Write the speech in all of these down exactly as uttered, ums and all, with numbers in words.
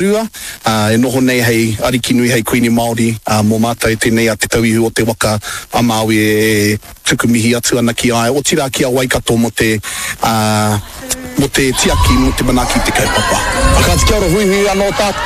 Rua, e noho nei hei ariki nui, hei Kuini Māori mō mātou tēnei a Te Tauihu o te Waka a Māui e tuku mihi atu ana ki a ia, otirā ki a Waikato mō te, mō te tiaki, mō te manaaki i te kaupapa. Kāti kia ora, huihui anō tātou.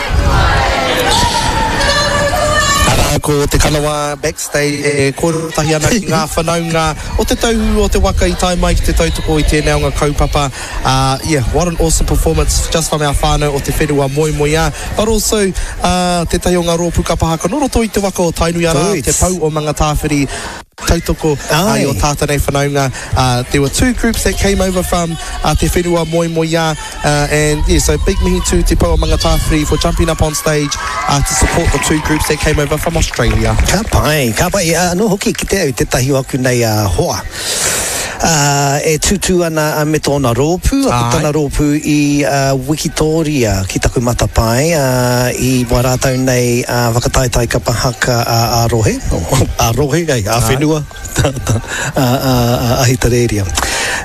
Arā, ko Te Kanawa backstage e kōrero tahi ana ki ngā whanaunga o Te Tauihu o te Waka i tae mai ki te tautoko i tēnei o ngā kaupapa. Uh, yeah, what an awesome performance just from our whānau o te whenua moemoeā. But also, uh, tētahi o ngā rōpū kapa haka nō roto i te waka o Tainui arā, Te Pou o Mangatāwhiri tautoko uh, i o tātou nei whanaunga. Uh, there were two groups that came over from uh, Te Whenua Moemoeā. Uh, and yeah, so big mihi to Te Pou o Mangatāwhiri for jumping up on stage uh, to support the two groups that came over from Australia. Ka pai, ka pai. Anō hoki ki te au tētahi o aku nei uh, hoa. Uh, e tūtū ana uh, me tōna rōpū, ko tana rōpū i uh, Wikitoria ki taku matapae, uh, i wā rātou nei uh, whakataetae kapa haka uh, a rohe, a rohe, ei, a whenua, a, a, a Ahitereiria.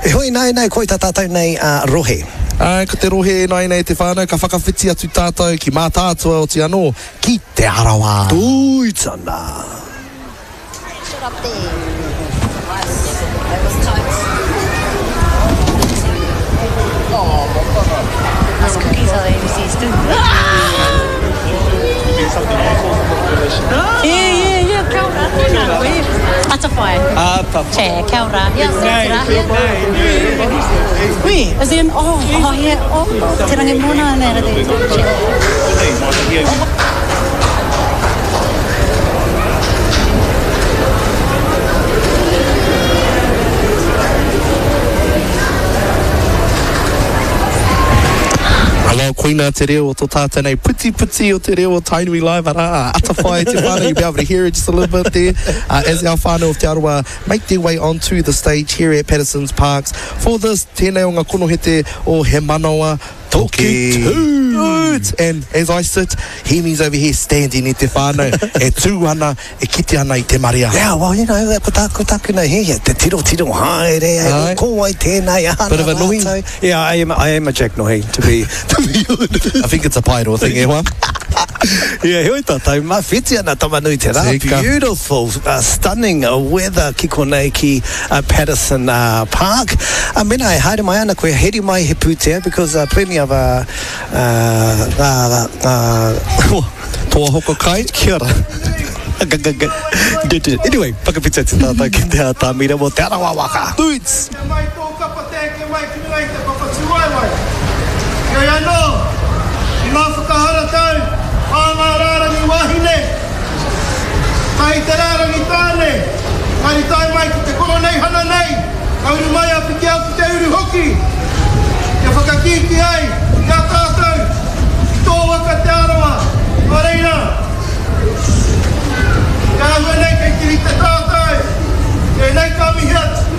E hoi nāi nei, koi tā tātou nei uh, rohe. Ai, ko te rohe e nāi nei te whānau, ka whakawhiti atu tātou ki Mātaatua oti anō, ki Te Arawa. Tūitana. Shut up there. That was tight. Us cookies are overseas too. Yeah, yeah, yeah. Kia ora. Tēnā koe. Atawhai. Atawhai. Kia ora. Yeah, Wee, is he in? Oh, oh, yeah. Oh, te rangi mōna nei ra te. Hello, koina te reo o tō tātou nei putiputi o te reo o Tainui Live, arā, atawhai te whānau, you'll be able to hear it just a little bit there, uh, as our whānau of Te Arawa make their way onto the stage here at Patterson's Parks for this tēnei o ngā konohete o He Manawa Toki Tū. And as I sit, Hemi's over here standing i te whānau, e tū ana, e kite ana i te marea. Yeah, well, you know, ko tāku, tāku nei hiahia, te tiro tiro haere, Ai. ko wai tēnei, aha Bit of a nohi. rātou. Yeah, I am, I am a Jack Nohi, to be, to be honest. I think it's a Paeroa thing, e hoa. Yeah, heoi tātou, mawhiti ana Tamanui te rā. Tika. Beautiful, uh, stunning weather ki konei ki uh, Patterson uh, Park. Uh, mena e haere mai ana koe, heri mai he pūtea, because uh, plenty of uh, uh, ngā, ngā, Toa hoko kai. Kia ora. Anyway, whakawhiti atu tātou ki te atamira mō Te Arawa waka. Boots! Kia mai tō kapa te eke mai ki runga i te papa tūwaewae. Heoi anō, i ngā whakaharatau a ngā rārangi wāhine, tahi te rārangi tāne, kari tae mai ki te koroneihana nei, ka uru mai a Pikiao ki te uru hoki, kia whakakīkī ai i a tātou, i tō waka Te Arawa, nō reira, te āhua nei kei te rite tātou, tēnei ka mihi atu.